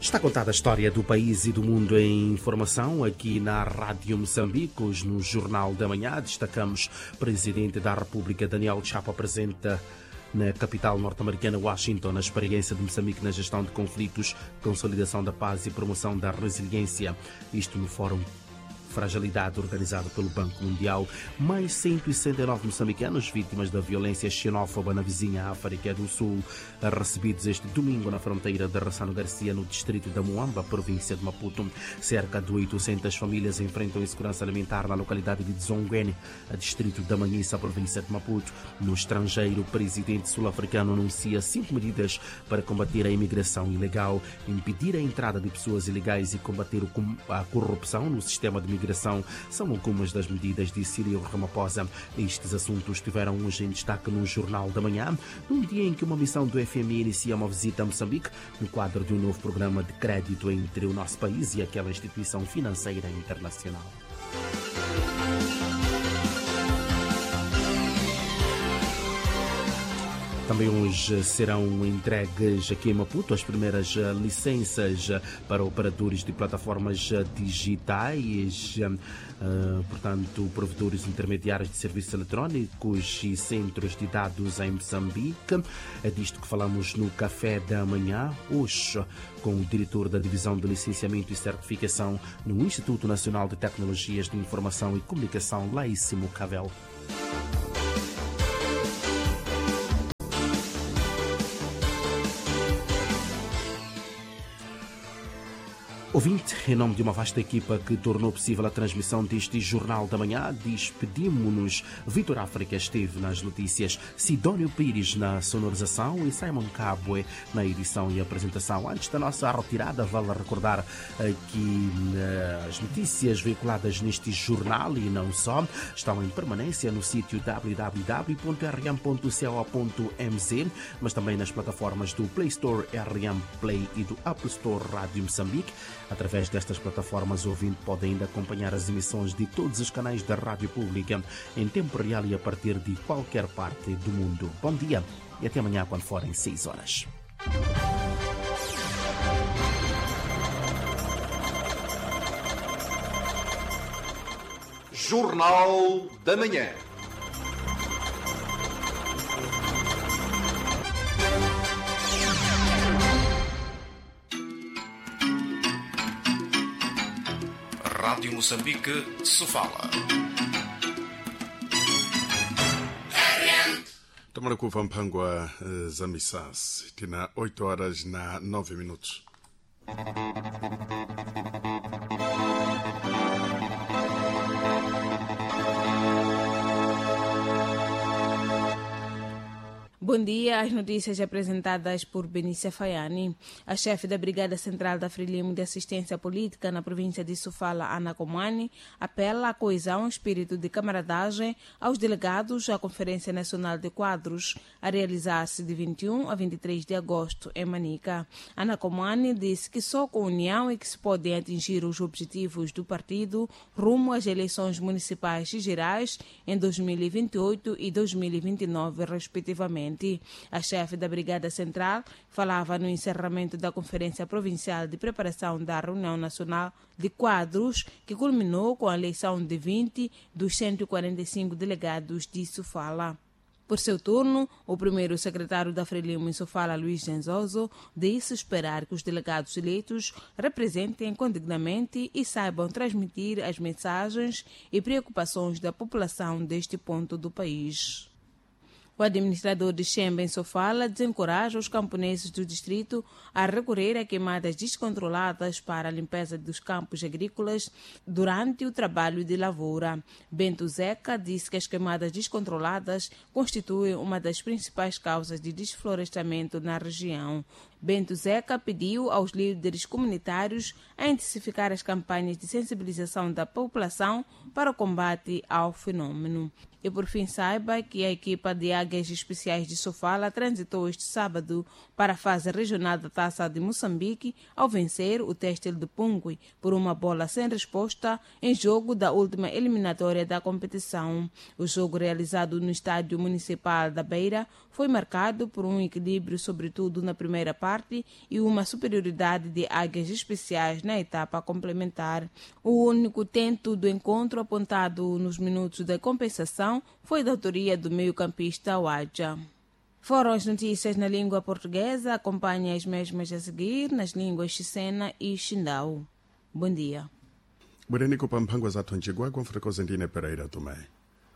Está contada a história do país e do mundo em informação aqui na Rádio Moçambique. Hoje no Jornal da Manhã destacamos Presidente da República Daniel Chapo apresenta na capital norte-americana Washington a experiência de Moçambique na gestão de conflitos, consolidação da paz e promoção da resiliência. Isto no Fórum Fragilidade organizado pelo Banco Mundial. Mais 169 moçambicanos vítimas da violência xenófoba na vizinha África do Sul, recebidos este domingo na fronteira de Ressano Garcia, no distrito da Moamba, província de Maputo. Cerca de 800 famílias enfrentam insegurança alimentar na localidade de Dzonguene, distrito da Manhissa, província de Maputo. No estrangeiro, o presidente sul-africano anuncia 5 medidas para combater a imigração ilegal, impedir a entrada de pessoas ilegais e combater a corrupção no sistema de migração. São algumas das medidas de Cyril Ramaphosa. Estes assuntos estiveram hoje em destaque no Jornal da Manhã, num dia em que uma missão do FMI inicia uma visita a Moçambique, no quadro de um novo programa de crédito entre o nosso país e aquela instituição financeira internacional. Também hoje serão entregues aqui em Maputo as primeiras licenças para operadores de plataformas digitais, portanto, provedores intermediários de serviços eletrónicos e centros de dados em Moçambique. É disto que falamos no Café da Manhã, hoje, com o diretor da Divisão de Licenciamento e Certificação no Instituto Nacional de Tecnologias de Informação e Comunicação, Laíssimo Cavel. Ouvinte, em nome de uma vasta equipa que tornou possível a transmissão deste Jornal da Manhã, despedimo-nos. Vitor África esteve nas notícias, Sidónio Pires na sonorização e Simon Cabwe na edição e apresentação. Antes da nossa retirada, vale recordar que as notícias veiculadas neste jornal e não só estão em permanência no sítio www.rm.co.mz, mas também nas plataformas do Play Store, RM Play e do Apple Store Rádio Moçambique. Através destas plataformas, o ouvinte pode ainda acompanhar as emissões de todos os canais da Rádio Pública em tempo real e a partir de qualquer parte do mundo. Bom dia e até amanhã quando forem 6 horas. Jornal da Manhã. Rádio Moçambique, Sofala. Tomara kuva mphangwa za misasi tina 8 horas na 9 minutos. Bom dia. As notícias apresentadas por Benícia Faiani. A chefe da Brigada Central da Frelimo de Assistência Política na província de Sofala, Ana Comani, apela à coesão e espírito de camaradagem aos delegados à Conferência Nacional de Quadros, a realizar-se de 21 a 23 de agosto em Manica. Ana Comani disse que só com união é que se podem atingir os objetivos do partido rumo às eleições municipais e gerais em 2028 e 2029, respectivamente. A chefe da Brigada Central falava no encerramento da Conferência Provincial de Preparação da Reunião Nacional de Quadros, que culminou com a eleição de 20 dos 145 delegados de Sofala. Por seu turno, o primeiro secretário da Frelimo em Sofala, Luís Genzoso, disse esperar que os delegados eleitos representem condignamente e saibam transmitir as mensagens e preocupações da população deste ponto do país. O administrador de Xemba, em Sofala, desencoraja os camponeses do distrito a recorrer a queimadas descontroladas para a limpeza dos campos agrícolas durante o trabalho de lavoura. Bento Zeca disse que as queimadas descontroladas constituem uma das principais causas de desflorestamento na região. Bento Zeca pediu aos líderes comunitários a intensificar as campanhas de sensibilização da população para o combate ao fenômeno. E por fim, saiba que a equipa de Águia Águias Especiais de Sofala transitou este sábado para a fase regional da Taça de Moçambique ao vencer o Têxtil de Pungui por uma bola sem resposta em jogo da última eliminatória da competição. O jogo realizado no Estádio Municipal da Beira foi marcado por um equilíbrio, sobretudo na primeira parte, e uma superioridade de Águias Especiais na etapa complementar. O único tento do encontro apontado nos minutos da compensação foi da autoria do meio-campista Waja. Foram as notícias na língua portuguesa. Acompanhe as mesmas a seguir nas línguas Xicena e Xindau. Bom dia. Bwereni pa mphangwa zathu mcigwagwa mfotokozi ndine Pereira Tomé.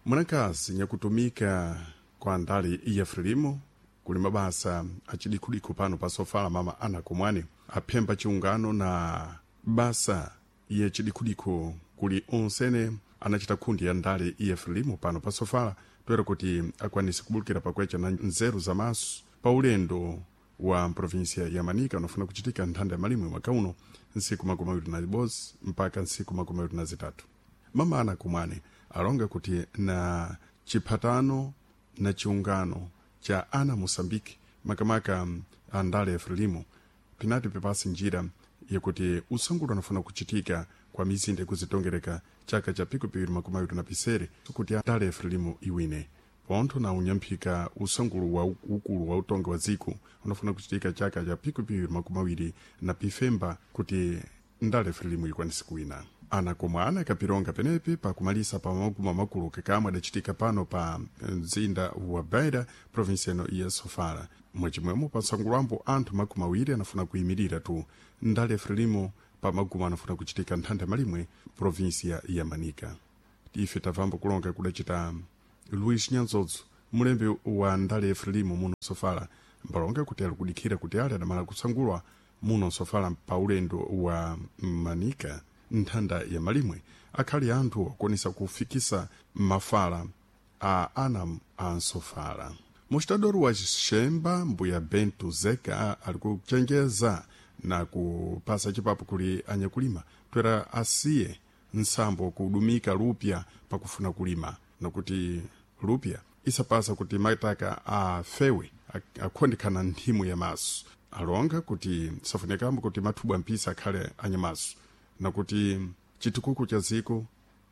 Mwanakazi nyakutumika kwa ndali ya Frelimo kuli mabasa acidikhudiku pano pa Sofala mama Ana Kumwani aphemba chiungano na basa ya cidikhudiku kuli onsene anacita khundi ya ndali ya Frelimo pano pa Sofala toera kuti akwanise kubulukira pakwecha na nzeru za maso pa ulendo wa mprovinsia ya Manica unafuna kuchitika nthanda ya malimwe mwaka uno nsiku 21 mpaka nsiku 23. Mama Ana Kumwani alonga kuti na chiphatano na chiungano cha ana Moçambique makamaka andale ya Frelimo pinati pepasi njira yakuti usangulo unafuna kuchitika kwa mizinda ikuzitongereka chaka cha pikupiri 26 kuti andale ya Frelimo iwine pontho na unyamphika usangulu wa ukulu wa utongi wa dziko unafuna kuchitika chaka cha pikupiri 25 kuti ndale ya Frelimo ikwanise kuwina. Ana komwe ana kapironga penepi pakumalisa pa maguma makulu kakamwe adachitika pano pa mzinda wa Beira provinsi ino ya Sofala. Mwachimwemo pa msangulambo anthu 20 anafuna kuyimirira tu ndale Frelimo pa maguma anafuna kuchitika nthanda malimwe provinsia ya Manica. Ife tabvambo kulonga kudachita Luis Nyanzodzo mulembi wa ndale Frelimo muno Sofala mbalonga kuti ali kudikhira kuti ali adamala kusangulwa muno Sofala pa ulendo wa Manica nthanda ya malimwe akhali anthu akwanisa kufikisa mafala a ana a nsofala. Mostador wa Xemba mbuya Bento Zeka ali kuchenjeza na kupasa chipapo kuli anyakulima twera asiye nsambo kudumika lupya pakufuna kulima nakuti lupya isapasa kuti mataka afewe akhondekhana nthimu ya maso. Alonga kuti safunekambo kuti mathubwa mpisa akhale anyamaso nakuti chitukuko cha dziko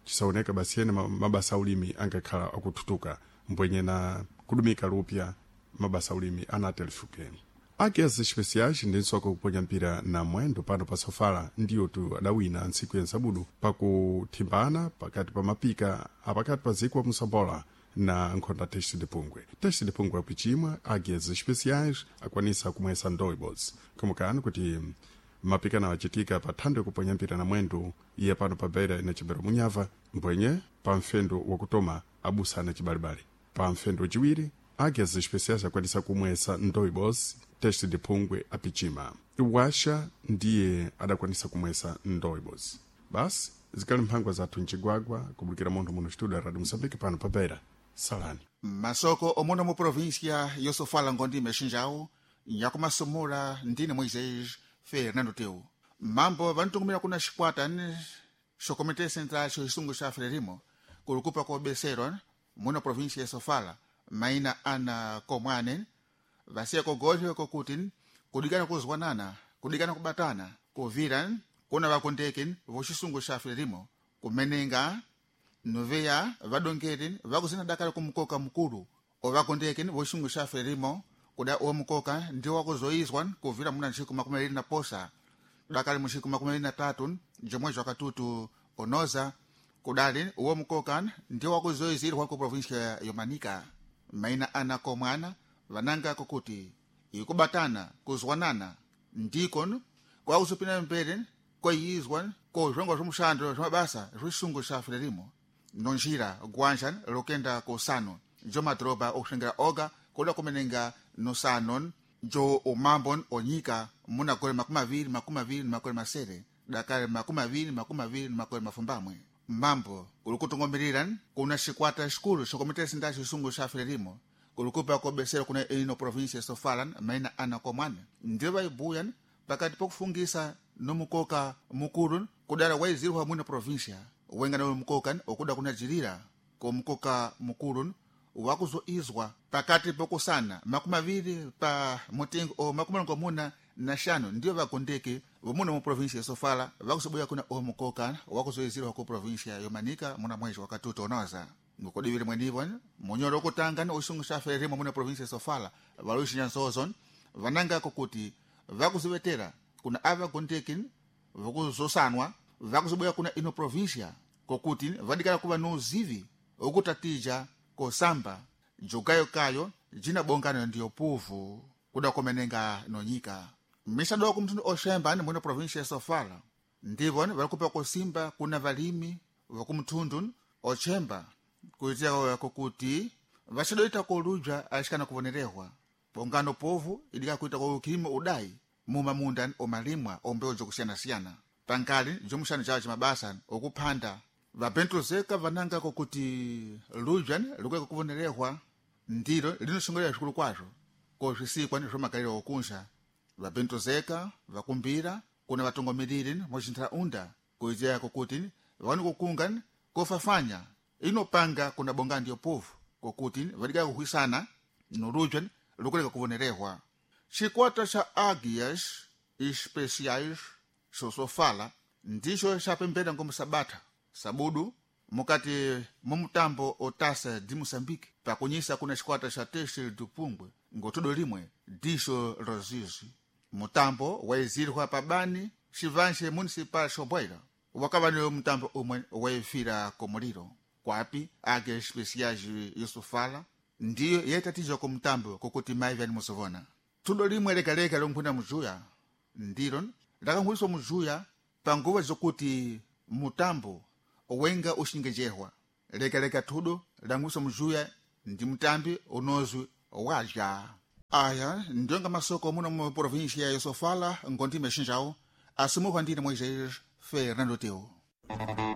chisaoneka basi ene mabasa aulimi angakhala akuthutuka mbwenye na kudumika lupya mabasa aulimi anatelifuke. Águias Especiais ndi nsoka kuponya mpira na mwendo pano pa Sofala ndiyo tu adawina ntsiku ya nsabudu pakuthimbana pakati pa mapika apakati pa dziko wa Moçambola na nkhonda Teste de Pungwe. Teste de Pungwe akuchimwa Águias Especiais akwanisa kumwesa ndoibos kumukani kuti mapikano achitika pa thando yakuponya mpira na mwendo iye pano pa Beira inachembera munyava mbwenye pa mfendo wakutoma abusana chibalibali. Pa mfendo wachiwiri Águias Especiais akwanisa kumwesa ndoibos Teste de Pungwe apichima. Washa ndiye adakwanisa kumwesa ndoibos. Basi zikali mphangwa zathu mcigwagwa kubulukira munthu muno studio ya Radio Moçambique pano pa Beira. Salani. Masoko omuno mu província yosofala ngondime xinjawu nyakumasumula ndine Moisés Fernando Teu. Mambo vanitungumira kuna xikwata ni xo Comité Central xo xisungu xa Frelimo kulukupa ko besero muno província ya Sofala maina ana komwane vasiya kogolho kokuti kudikana kuzwanana kudikana kubatana kuvira kuna vakondeki voxisungu xa Frelimo kumenenga noveya vadongeri vakuzina dakala kumukoka mukulu ovakondeki voxisungu xa Frelimo kuda omukoka ndiwo wakuzoizwa kuvira muna ntsiku 26 dakali muntsiku 23 jomwezi wakatutu onoza kudali uwo mukoka ndiwo wakuzoizirwa ku província yomanika. Maina ana komwana vananga kokuti ikubatana kuzwanana ndiko kwakuzopina mbere kweyizwa kozvongo zvomushando zvamabasa zvisungu xa Frelimo nonjira gwanja lokenda kosano njo madhoroba okusengera oga koda kumenenga nosano njo umambo onyika muna gore 2027 dakale 2028. Mambo kuli kutungomirira kuna xikwata xikulu xo Comité Central xisungu xa Frelimo kulikupa kobesera kuna ino província Sofala maina ana komwana ndiyo vaibuya pakati pokufungisa nomukoka mukulu kudala waizirwa mwino província wenga na mukoka okuda kunajirira komukoka mukulu. Wakuzoizwa pakati pokusana 20 pa mutengo o 95 ndiyo vagondeki vomuno mu província ya Sofala vakuzobuya kuna o mukoka wakuzoizirwa ku província yomanika muna mwezi wakatuta unoza. Ngokudivile mwenivo munyoro okutanga ni uxungu xa Frelimo muna província ya Sofala valuxinya nsozo vanangako kuti vakuzivetera kuna avagondeki vokuzosanwa vakuzobuya kuna ino província kokuti vadikala kuva nuuzivi okutatija kosamba jukayokayo jina bongano ndiyo puvu kuda komenenga nonyika misado kumtundu oxemba ni mwino província ya Sofala ndivo valikupa kosimba kuna valimi vokumthundu ochemba kuitia kokuti vaxadoita koludya axikana kuvonerehwa bongano povu idika kuita kokilima udai mumamunda omalimwa ombewu jokusiyanasiyana pankali jomuxano cawo cimabasa okuphanda vapentuzeka vananga kokuti ludya likueka kuvonerehwa ndilo linoxongolera xikulu kwazvo koswisikwa ni swo okunxa vapentuzeka vakumbira kuna vatongomeleli moxintharaunda kuitia kokuti vani kukunga kofafanya inopanga kuna bonga ndiyo povu kokuti vadika kuhwisana noludya lukuleka kuvonerehwa. Xikwata xa Águias Especiais xosofala ndixo xapembela ngomu sabatha sabudu mukati mumutambo otasa di Moçambique pakunyisa kuna xikwata xa Teixeira do Pungwe ngotudo limwe dixo rozizi. Mutambo waizirwa pabani xivanxe municipal xobwaila wakava ni mutambo umwe waifira komuliro kwapi Águias Especiais yosofala ndiyo yaitatizwa kumutambo kokuti mai vyani musovona. Tudo limwe lekaleka lonkhuna mujuya ndilo lakankhwiliswa mujuya panguva zokuti mutambo wenga uxingejehwa lekaleka thudo lankhwiliswa mujuya ndi mutambi unozwi wadya. Aya ndiyonga masoko muno mu província ya Sofala ngondime xinjawo asimuhwa ndine Moisés Fernando Teu.